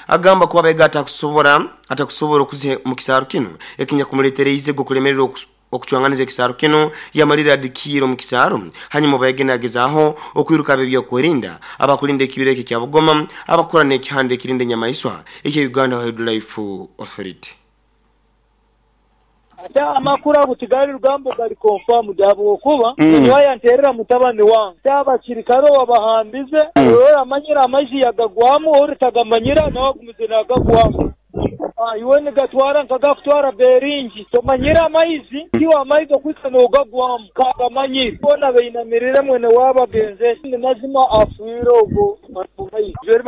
Agamba kuba abayiga atakusobora okuziha mu kisaaru kinu ekinyakumuletereize okulemererwa okucwanganiza ekisaaru kinu. Yamalire adikiire omu kisaaru, hanyuma obayege nagezaaho okwiruka ab'ebyokwerinda abakulinda ekibira ekyo ekya Bugoma abakora n'ekihanda ekirinda enyamaiswa ekya Uganda Wildlife Authority. Ate amakuru ago tigali lugambo gali confirmed ahabw'okuba nyowe yanterera mutabani wange. Ate abasirikare owabahambize ori amanyire amaizi yagagwamu ori tagamanyire nawe agumize nagagwamu. Iwe nigatwara nkagakutwara beringi tomanyire amaizi tiwe amaizi okwika nogagwamu kagamanyire. Boona bainamirire mwene waabo agenzere. Ni mazima afiire ogwo maizi. Eri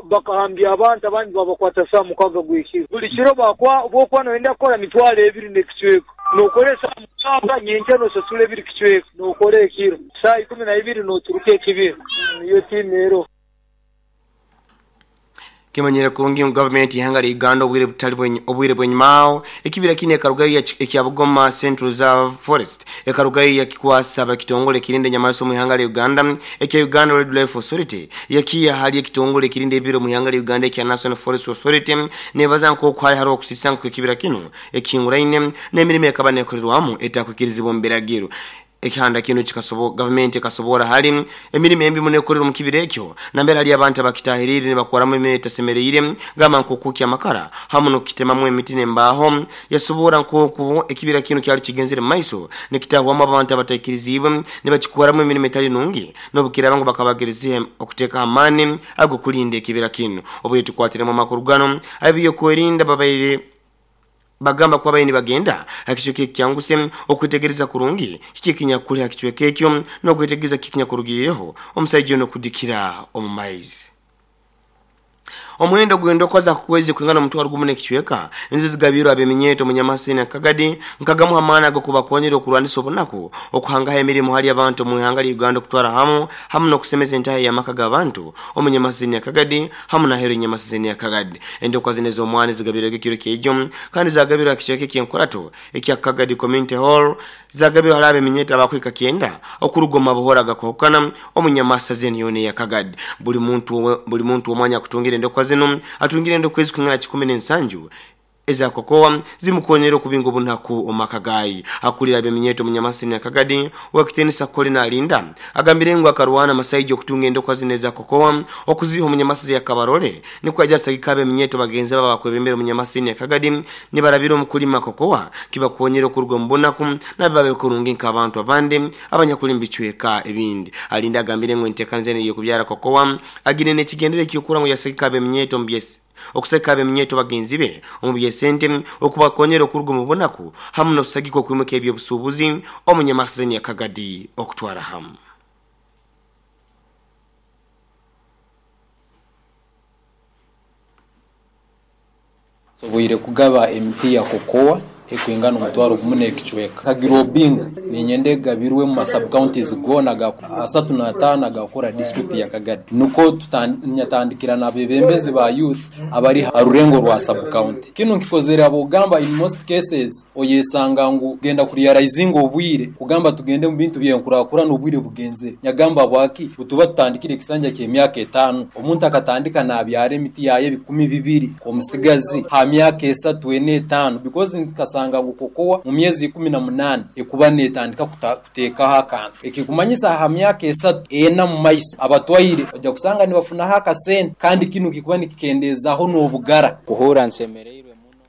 bakahambya abantu abandi babakwata saaha 6 gw'ekiro. Buli kiro bwokuba noyenda kukora 20,000 n'ekicweka nokora esaaha 6, nyenkya nosasura 2 kicweka nokora ekiro saaha 12 noturuka ekibira. Niyo tiimu eroho. Kimanyire kurungi ngu gavumenti y'ihanga lya Uganda obwire butali obwire bw'enyumaho ekibira kinu ekarugayo ekya Bugoma Central Reserve Forest ekarugayo yakikwasa ab'ekitongole ekirinda enyamaiswa omu ihanga lya Uganda ekya Uganda Wildlife Authority, yakiiha hali ekitongole ekirinda ebibira omu ihanga lya Uganda ekya National Forest Authority, nebaza nk'oku hali haroho okusisa nk'ekibira kinu ekihinguraine n'emirimo ekaba nekorerwamu etakwikirizibwa omu biragiro. Ekihanda kinu gavumenti ekasobora hali emirimo embi muno ekorerwa omu kibira ekyo nambere hali abantu abakitahiriire nibakoramu emirimo etasemereire, gamba nk'okukya amakara hamu n'okukitemamu emiti n'embaaho. Yasobora nk'oku ekibira kinu kyali kigenzere mu maiso nikitahwamu abantu abataikiriziibwe nibakikoramu emirimo etali nungi, n'obukiraaba ngu bakabagerizeho okuteekaho amaani ag'okulinda ekibira kinu. Obwire tukwatiremu amakuru gano, ab'ebyokwerinda babaire bagamba kuba babaire nibagenda ha kicweka ekikyanguse okwetegereza kurungi kiki ekinyakuli ha kicweka ekyo n'okwetegereza kiki ekinyakurugirireho omusaija ono kudikira omu maizi. Omuhendo gw'endokwa za kukwezi kwingana 1,000 n'ekicweka nizo zigabirwe ab'eminyeeto omu Nyamasini na Kagadi nkagamu amaani ag'okubakonyera okurwanisa obunaku, okuhangaho emirimo hali abantu omu ihanga lya Uganda okutwara hamu hamu n'okusemeza entaha y'amaka g'abantu omu Nyamasini ya Kagadi hamu n'aheeru y'Nyamasini ya Kagadi. Endokwa zinu ez'omwani zigabirwege ekiro ky'ejo kandi zagabirwe ha kicweka eky'enkurato ekya Kagadi Community Hall, zagabirwe hali ab'eminyeeto abakuhika 90 okuruga omu mabuhoro agakwahukana omu Nyamasa zeni yoona eya Kagadi. Buli muntu buli muntu omwanya akutungire endokwa zinu atungire endokwa ezikwingana 17 eza kokoa zimukonyera okubinga obunaku omu maka gaye. Akulira ab'eminyeeto omu Nyamasini ya Kagadi, Owekitiinisa Colin Alinda agambire ngu akarwana amasaija okutunga endokwa zinu eza kokoa okuziiha omu Nyamasizi ya Kabarole nikwo aija asagika ab'eminyeeto bagenzi be abakwebembera omu Nyamasini ya Kagadi nibarabira omu kulima kokoa kibakonyera okuruga omu bunaku nabo babe kurungi nk'abantu abandi abanyakuli mu bicweka ebindi. Alinda agambire ngu enteekaniza enu ey'okubyara kokoa agine n'ekigendererwa eky'okurora ngu yasagika ab'eminyeeto omu okusagika ab'eminyeeto bagenzi be omu by'esente, okubakonyera okuruga omu bunaku hamu n'okusagika okwimuka eby'obusuubuzi omu Nyamasazeni ya Kagadi okutwara hamu. Nsoboire kugaba emiti ya kokoa ekwingana 1,000 n'ekicweka. Kagirobinga ninyenda egabirwe mu sub-counties goona 35 agakukora district ya Kagadi. Nukwo nyatandikira n'abebembezi ba youth abari ha rurengo rwa sub-county. Kinu nkikozere habw'okugamba in most cases oyesanga ngu genda kurealizinga obwire kugamba tugende mu bintu by'enkurakurana obwire bugenzere. Nyagamba habwaki butuba tutandikire ekisanja ky'emyaka 5 omuntu akatandika nabyara emiti yaye 2,000 omusigazi ha myaka 3, 4, 5 because nkasanga ngu kokoa mu myezi 18 ekuba netandika kuteekaho akantu ekikumanyisa ha myaka 3, 4 mu maiso abatwaire ojja kusanga nibafunaho akasente kandi kinu kikuba nikikendeezaho n'obugara. Kuhurra nsemereirwe muno.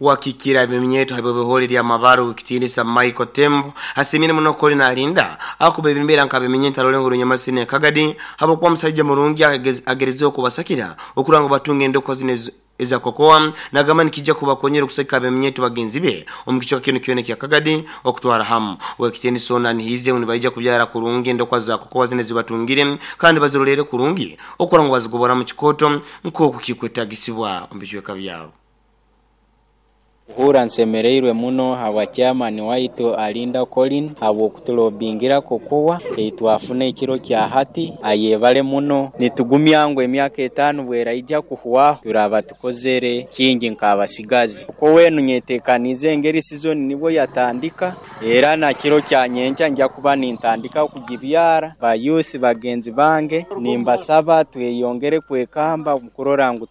Wakikira ab'eminyeeto habw'ebihore lya Mabare ow'ekitiinisa Michael Tembo asiimire muno Colin Alinda ahakuba ebembera nk'ab'eminyeeto arulengo rw'Nyamasini ya Kagadi habw'okuba musaija murungi agerizeho okubasakira okurora ngu batunga endokwa zinu eza kokoa. Nagamba nikija kubakonyera okusagika ab'eminyeeto bagenzi be omu kicweka kinu kyona ekya Kagadi okutwara hamu. Ow'ekitiinisa onu anihiize ngu nibaija kubyara kurungi endokwa za kokoa zinu ezibatungire kandi baziroleere kurungi okurora ngu bazigobora mu kikooto nk'oku kikwetagisibwa omu bicweka byabo. Kuhurra nsemereirwe muno habwa chairman waitu Alinda Colin habw'okutulobingira kokoa eitwafuna ekiro kya hati. Ayebale muno. Nitugumya ngu emyaka 5 bweraija kuhwaho turaba tukozere kingi nk'abasigazi. Kokoa enu nyetekaniize engeri sizoni nibwo yatandika era na kiro kya nyenkya nja kuba nintandika kugibyara. Ba youth bagenzi bange nimbasaba tweyongere kwekamba kurora ngu